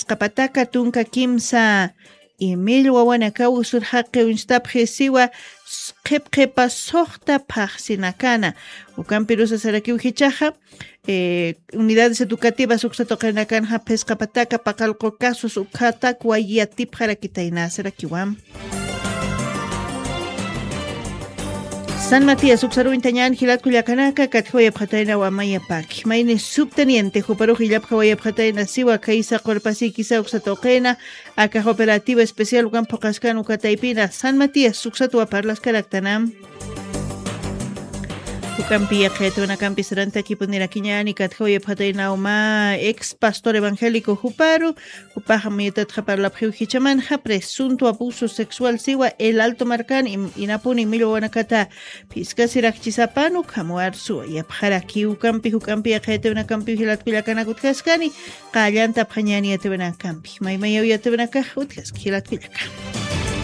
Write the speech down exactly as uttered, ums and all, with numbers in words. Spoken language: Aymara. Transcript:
qapataka tunka kimsa imil wawanakaw usurxaqi uñstapxi siwa qhipqhipa suxta phaxsinakana. Ukampirusa sarakiw jichaxa, eh, unidades educativas uksatuqinakanxa phisqa pataka paqalqu casos ukhatak wayatipxarakitaynasarakiwa. San Matías uksaruñtañan jilatkullakanaka katjawayapxatayna wamayapaki mayni subteniente juparux illapjawayapxatayna siwa kaysa qurpasikisa uksatuqina. Akax operativa especial ukan phuqaskan ukataypina San Matías uksatwa parlaskaraktana. Ukampi yaqhayatunakampi sarantakipunirakiñani katjawayapxatayna uma ex pastor evangélico juparu. Upaxa muyutatxa parlapxiw jichamanxa presunto abuso sexual siwa el alto markan inapuni millwawanakata phiskasirakchisapanu khamuwarsuwa yapxarakiw ukampi juk'ampi yaqhayatiwinakampiw jilatkullakanakutkaskani. Qallantapxañani yatiwinakampi maymayaw yatiwinakax utkaski jilatkullaka.